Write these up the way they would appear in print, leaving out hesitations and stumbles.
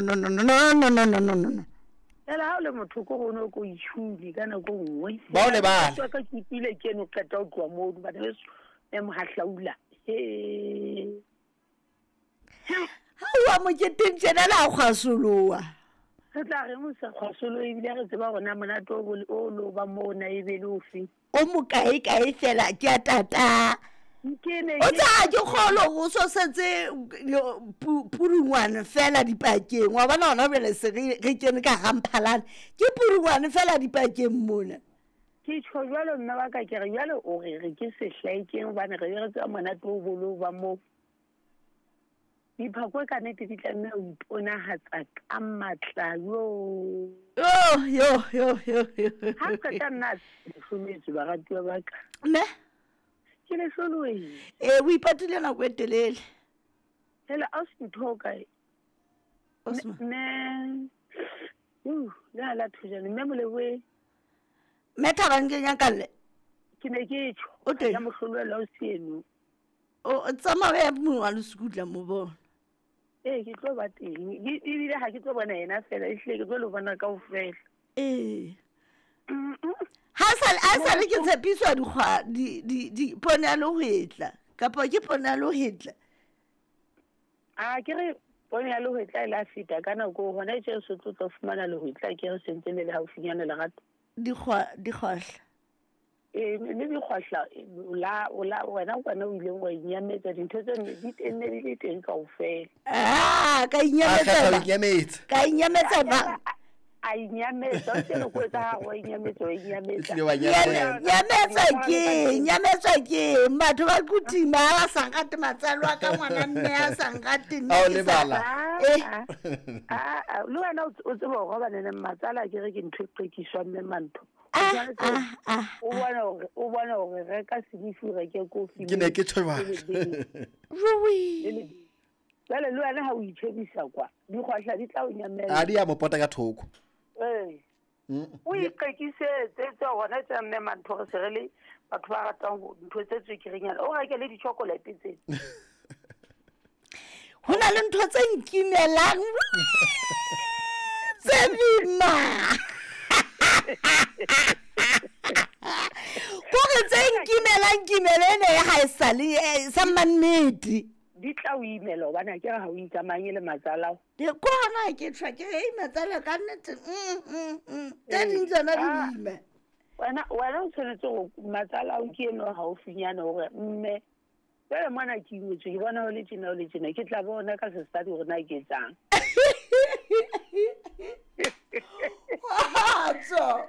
No, no, no, no, no, no, no, no, no. Fela ha o le motho ko gone o ko itšhune ka nako nngwe. Ba o lebale. Ka ke utlwile ke eno qeta ho tloha moo bana beso mme mohahlaula. He. Ha o moketeng tjena la kgwasoloha. Re tla reng o sa kgwasolo ebile re tseba hore na monate o o lo ba moo na ebe le ofe. O mokae kae fela ke a tata. Ke ne O tsa ke kgolo o so setse purungwane fela dipakeng. Wa bona hona jwale se re kene ka ramphalane. Ke purungwane fela dipakeng mona. Ke tjho jwalo mme wa ka ke re jwale o re re ke sehlaekeng hobane re re tseba monate o bolo ba moo. Diphakwe ka nnete di tlameha ho iponahatsa ka matla yo. Yo yo yo yo yo. Ha qeta nna le hlometswe baratuwa ba ka. Ne? Ke le hloloehile. Eh, o ipatile nako e telele. Hela a se ntho o kae? Osman. Mme le ha la thojane mme Moleboe. Mme Thabang ke nyakalle. Ke ne ke tjho. O teng. Ya mohlolwela o seno. O tsamaya ya mongwe wa lesekutla mo bona. Ee, ke tlo ba teng. Ebile ha ke tlo bona yena fela, ehlile ke tlo lo bona kaofela. Ee. Ha sale ke tshepiswa dikgwa di di di poone ya lehwetla kapa ke poone ya lehwetla. A ke re poone ya lehwetla e la feta ka nako hona tje se tlo tlo fumana lehwetla ke re sentse le le haufinyana lerato. Dikgwahla. Ee, le dikgwahla la la wena kwana o ileng wa inyametsa dintho tse ne di teng ne di le teng kaofela. Ah, ka A kgetha ho inyametsa. inyametsa. Ka inyametsa ba. A inyametsa, o se le ko etsa ha wa inyametsa, wa inyametsa. Ehlile wa nyamela. Nyametsa ke, nyametsa ke. Batho ba kutima ba sa nkate matsalo a ka ngwana mme a sa nkate nna A o ke sa- lebala. Eh. Ah, le wena o tseba hore hobane ne matsala ke re ke ntho e qekiswang mme mantho. Ah, ah, ah. O bona hore reka senifi, o reke kofi. Ke ne ke tjho jwalo. Rui. Jwale le wena ha o itjhebisa kwa, dikgwahla di tla o nyamela. A di ya mo pota ka thoko. Ee. O iqekisetse tse hona tse mme mantho re se re le batho ba ratang ho ntho tse tswekerenyana. O reke le di-chocolate tsena. Ho na le ntho tse nkimelang. Tse boima. Kore tse nkimelang kimelo ene ya ha e sale sa mannete. Di tla o imela hobane ha ke re ha o itsamanye le matsalao. Ke kona ke tshwa ke ei matsala ka nnete. Tse ding tsona di boima. Wena o tshwanetse ho matsalao ke eno haufinyana hore mme jwale mona ke ingwetswe ke bona ho le tjena ho le tjena ke tla bona ka sesadi hore na ke etsang. Kgotso.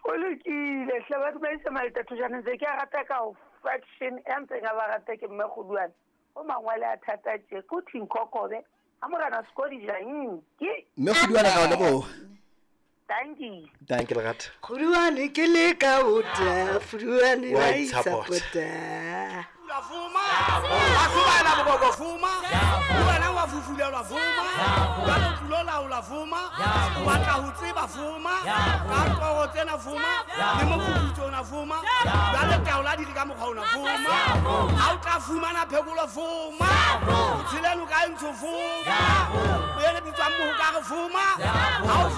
O lokile hle batho ba isa maletathojana ntse ke a rata ka ho faction ya ntseng a ba rata ke mme Kgoduane. O mangwele a thata tje ko Thinkhokobe ha morena Sekodi jang ke Mme Kgoduane ra o leboha. Thank you. Thank you lerato. Kgoduane ke le ka ota, Kgoduane Wa wa itsapota. itsapota. La fuma, la fuma la boko fuma, wena wa fufulelwa fuma, wa tlo laola fuma, wa tla ho tseba fuma, ka toro tsena fuma, le mofufutso ona fuma, jwale taola di re ka mokgwa ona fuma, ha o tla fumana phekolo fuma, o tshele noka e ntsho fuma, o ye le bitswang mohokare fuma, ha o